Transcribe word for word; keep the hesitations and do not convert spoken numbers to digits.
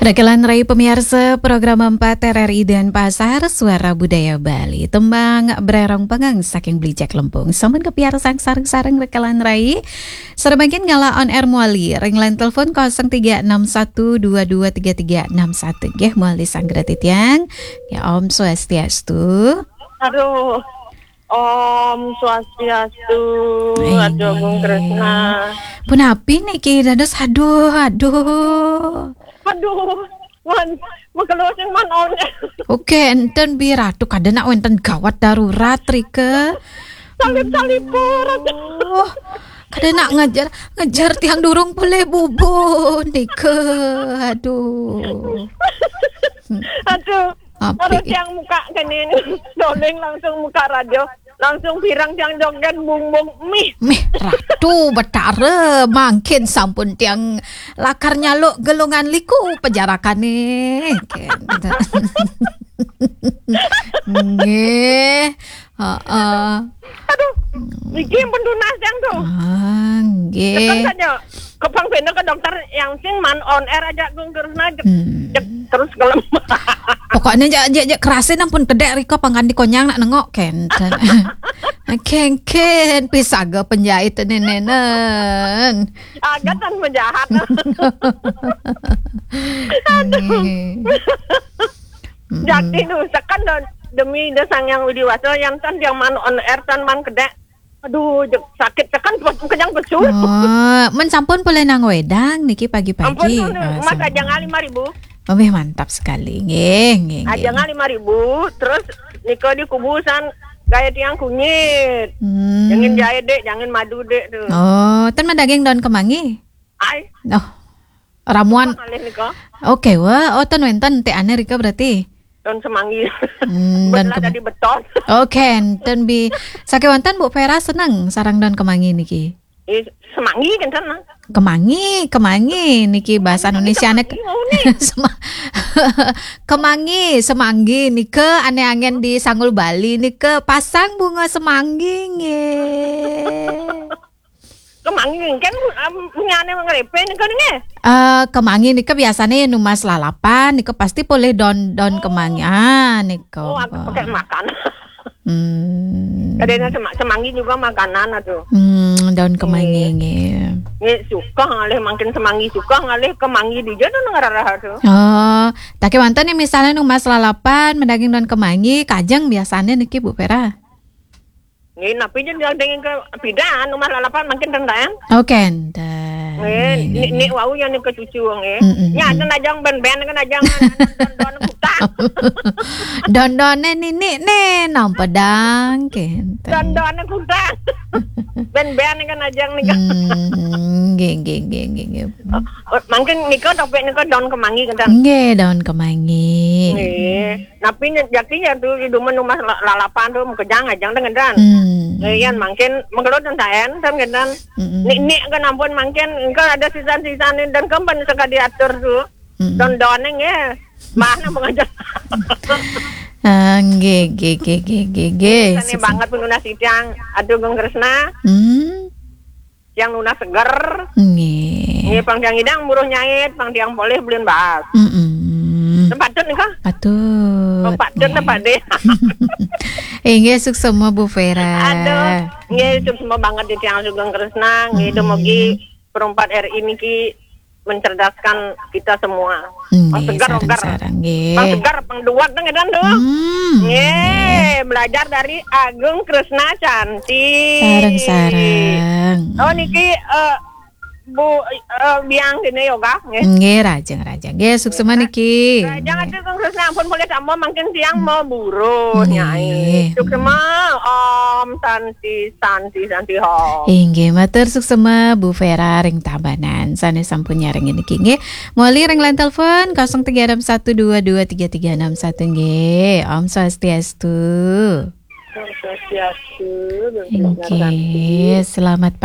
Rekelan rai pamiarsa program empat R R I Denpasar, Suara Budaya Bali. Tembang Brerong Pengang saking Beli Jack Lempung. Sampun kapiarsa sareng-sareng rekelan rai. Sareng mangkin ngalih on air malih ring line telepon kosong tiga enam satu dua dua tiga tiga enam satu. Nggih, malih sanget titiang. Ya, Om Swastiastu. Aduh. Om Swastiastu. Aduh, Gung Kresna. Punapi niki dados, aduh, aduh. Aduh, man, makelo sing man on. Oke, enten bi Ratu, kada nak wenten gawat darurat rika. Salip-salipur. Oh, kada nak ngejar, ngejar tiang durung pulih bubu nika. Aduh. Aduh. Api. Harus yang muka kene doling langsung muka radio. Langsung pirang tiang joget bung-bung mih. Mih, Ratu Betara, mangkin sampun tiang lakar nyaluk gelungan liku pajarakane. Nggih. Heeh. Aduh, niki pun tunas yang tuh. Ah, nggih. Tekan saja. Kepang bener ke dokter yang sing man on air aja Gung Kresna jek, Hmm. jek terus gelem. Pokoknya jak jak jak kerasin ampun kedek rika pangkandikonyang nak nengok kenten. Kengken pisaga penjahit nenenen. Agatan penjahat. Aduh. Nggih. Mm-mm. Jadi nu sekan demi Ida Sang Hyang Widi Wasa yang tan yang man on air tan man kedek. Aduh, jek sakit tekan kenyang pesu. Oh, men sampun pulih nang wedang niki pagi-pagi. Ampun, Mas, sampun. Aja lima ribu. Oh, wih, mantap sekali. Nggih, nggih, nggih. Aja lima ribu, terus nika di kubusan gaya tiang kunyit. Hmm. Jangan jahit, Dek, jangan madu, Dek, tuh. Oh, ten madaging daun kemangi? Ai. Oh. Ramuan. Apa malih nika? Oke, wah, oh, ten wenten te ane rika berarti. Daun semanggi. Hmm, daun kemangi. Jadi beton. Oke, enten bi. Sakewanten Bu Vera seneng sarang daun kemangi niki. Eh, semanggi kan sana. Kemangi, kemangi niki bahasa Indonesia nek. Semanggi, oh, nih. Sema-, kemangi, semanggi nika ane angen di Sanggul Bali nika pasang bunga semanggi nggih. Kemangi kan, um, punyane ngrepe nika nggih. Eh, kemangi nika biasane numas lalapan nika pasti polih daun, daun kemangi. Ah, nika. Oh, aku pakai makan. Hmm. Kadang sema-, semanggi juga makanan atuh. Hmm, daun kemangi nggih. Nggih, suka ngalih mangkin semanggi, suka ngalih kemangi dija tuh ngararah tuh. Oh, tapi wonten nih misalnya numas lalapan, madaging daun kemangi, kajeng biasanya niki Bu Vera. Nggih, napi jen yang dengin ke pidan, numas lalapan mangkin ten. Oh, kenten. Nggih, nggih, nik, nggih. Nik wau yang nika cucu nggih. Mm, mm, mm. Nya ada najang ben-ben kan najang don-don kutang. Don-done ninik ne nampa dang kenten. Don-done kutang. Ben-ben kan najang nika. Mm, nggih, nggih, nggih, nggih, nggih. Oh, mangkin nika topik nika daun kemangi kenten. Nggih, daun kemangi. Nggih. Napi nya jaki ya tu iduman rumah la-, lalapan tu makejang ajang dengan dan. Hmm. Ngian mangkin mengkelut dan saen dan dengan. Mm-mm. Nik-nik kan ampun mangkin engko ada sisan-sisan ni dan kemben sekali atur tu. Mm-mm. Don-don nggih. Mana mengajar. Ah, nggih, nggih, nggih, nggih, nggih, nggih. Sane banget penunas tiang. Aduh, Gung Kresna. Hmm. Tiang nunas seger. Nggih. Nggih, pang tiang idang buruh nyait, pang tiang polih belin baas. Mm-mm. Patut nika? Patut. Oh, patut nggih. Napa deh? Inggih, suksema Bu Vera. Aduh, nggih, suksema banget di tiang Sugeng Kresna, nggih, mm-mm. Dumugi Perempat R I niki mencerdaskan kita semua. Nggih, pang segar, sareng-sareng, nggih. Pang segar, pang duat nang edan tuh. Hmm, nggih, nggih. Belajar dari Agung Kresna Cantik. Sareng-sareng. Oh, niki, eh, Bu, eh, biang dene yoga, nggih. Nggih, rajeng, rajeng. Nggih, suksema niki. Rajeng atuh Kang Kresna ampun boleh tambah mangkin tiang mau buruh, nggih. Nyai. Suksema, Om Santi, Santi, Santi, Om. Inggih, matur suksema Bu Vera ring Tabanan. Sane sampun nyarengin niki, nggih. Moli ring line telepon kosong tiga enam satu dua dua tiga tiga enam satu, nggih. Om Swastiastu. Om Swastiastu, Bu Vera. Inggih, selamat pagi.